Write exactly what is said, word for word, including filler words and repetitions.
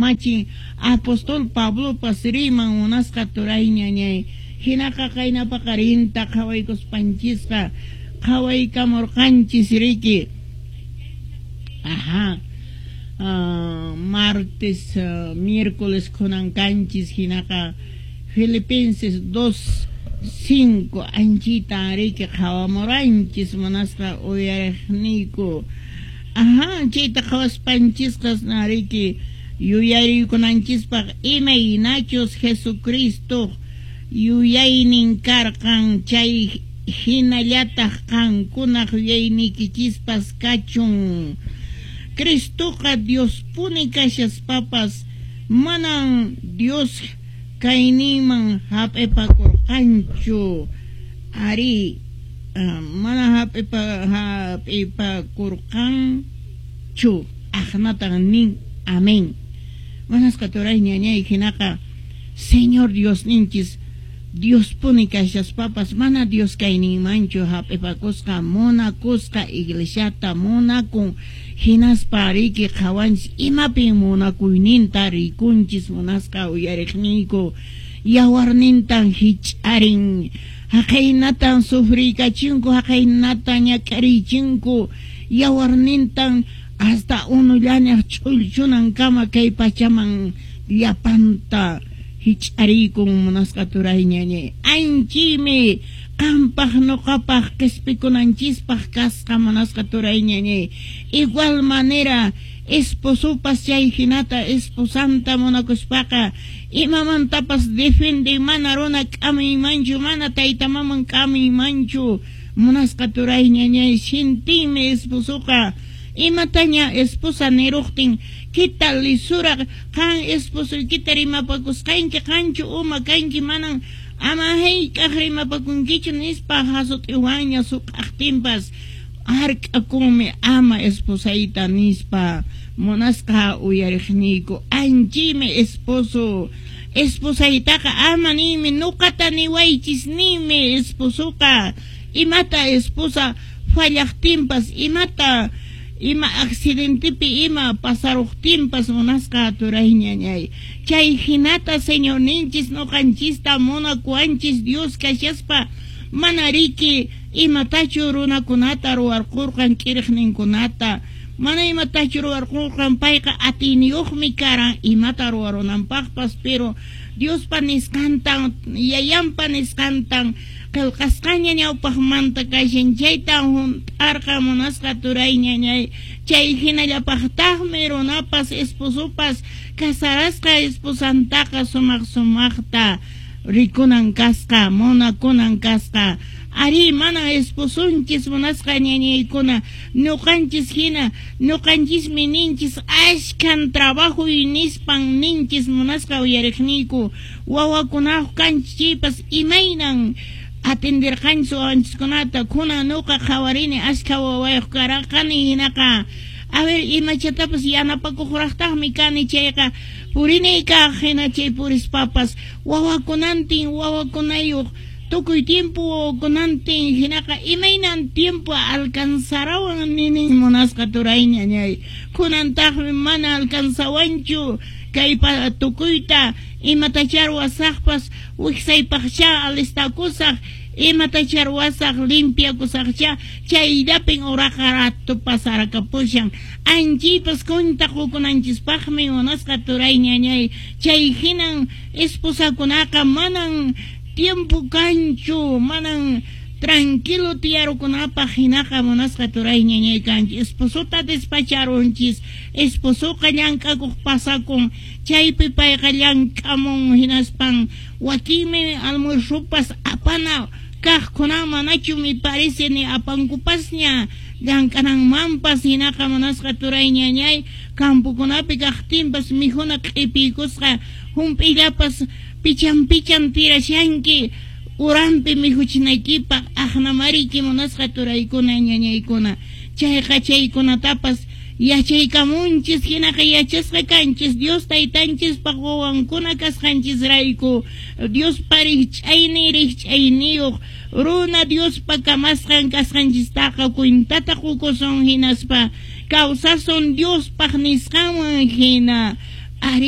kamachin apóstol Pablopas riman munasqa turay ñañay. Hinaqa qayna paqarinta qhawaykuspanchisqa qhawaykamurqanchis riki. Ajá. Uh, martes, uh, miércoles kunan kanchis hinaqa Filipenses dos cinco anchita riki qhawamuranchis munasqa uyariqniyku. Ajá, chayta qhawaspanchisqa riki yuyarikunanchispaq imaynachus Jesucristo yuyaynin karqan chay hinallataq qankunaq yuyayniykichispas kachun. Cristoqa Diospuni kashaspapas manan Dios kayninman hap'ipakurqanchu. Ari, uh, mana hap'ipa hap'ipakurqanchu. Aqnatan nin amén. Munasqa turay ñañay hinaqa Señor Diosninchis Diospuni kashaspapas mana Dios kayninmanchu hap'ipakusqa munakusqa iglesiata munakun hinaspa riki qhawanchis imapin munakuyninta rikunchis munasqa uyariqniyku yawarnintan hich'arin haqaynatan sufriykachinku haqaynatan ñak'arichinku yawarnintan hasta unullañaq ch'ullchunankama kay pachaman llapanta hich'ariykun munasqa turay ñañay. Anchimi qampaq nuqapaq qispikunanchispaq kasqa munasqa turay ñañay. Igual manera esposopas chay hinata esposanta munakuspaqa imamantapas defende mana runa k'amiymanchu mana tayta maman k'amiymanchu munasqa turay ñañay. Sintinmi esposoqa imataña esposa niruqtin kita lisura qan esposoykita rimapakusqanki qanchu uma kanki manan ama hayk'aq rimapakunkichu nispa hasut'iwanña suq'aqtinpas hark'akunmi ama esposayta nispa munasqa uyariqniyku. Anchimi esposo esposaytaqa ama ninmi nuqata niwaychis ninmi esposoqa imata esposa fallaqtinpas imata ima accidentepi ima pasaruqtinpas munasqa turay ñañay. Chay hinata Señorninchis nuqanchista munakuwanchis Dios kashaspa mana riki imatachu runakunata ruwarqurqan k'iriqninkunata mana imatachu ruwarqurqan payqa atiyniyuqmi karan imata ruwarunanpaqpas pero Diospa nisqantan yayanpa nisqantan qillqasqaña ñawpaqmanta kashan chaytan hunt'arqa munasqa turay ñañay. Chay hinallapaqtaqmi runapas esposopas casarasqa esposantaqa sumaq sumaqta rikunan kasqa munakunan kasqa. Ari mana esposunchis munasqa ñañaykuna ñuqanchis hina ñuqanchismi ninchis ashkan trabajuy nispan ninchis munasqa uyariqniyku wawakunaq kanchis chaypas imaynan atenderqanchis wawanchiskunata kunan nuqa qhawarini ashka wawayuq karaqani hinaqa a ver imachatapas yanapakuqraqtaqmi kani chayqa purinay kaq hina chay purispapas wawakunantin wawakunayuq tukuy tiempo wawakunantin hinaqa imaynan tiempo alcanzarawan ninin munasqa turay ñañay. Kunantaqmi mana alcanzawanchu kay tukuyta imatachá ruwasaqpas wiksaypaqcha alistakusaq imatachá ruwasaq limpiakusaqcha chayllapin uraqa rato pasarakapusan anchaypas cuenta qukunanchispaqmi munasqa turay ñañay. Chay hinan esposakunaqa manan tiempo kanchu manan tranquilo tiyarukunapaq hinaqa munasqa turay ñañay kanchis esposota despacharunchis esposoqa llank'akuq pasakun chaypi payqa llank'amun hinaspan wakinmi almuerzopas apana kaqkunan manachu mi parece ni apankupasña llank'ananmanpas hinaqa munasqa turay ñañay campokunapi kaqtinpas mikhuna q'ipiykusqa hump'illapas pichan pichan tirashanki urampi mikhuchinaykipaq aqnamariki munasqa turaykuna ñañaykuna chayqa chaykunatapas yachaykamunchis hinaqa yachasqa kanchis Dios taytanchispaq wawankuna kasqanchisrayku Diospa rikch'aynin rikch'ayniyuq runa Diospa kamasqan kasqanchistaqa cuentata qukusun hinaspa kawsasun Diospaq nisqanwan hina. Ari.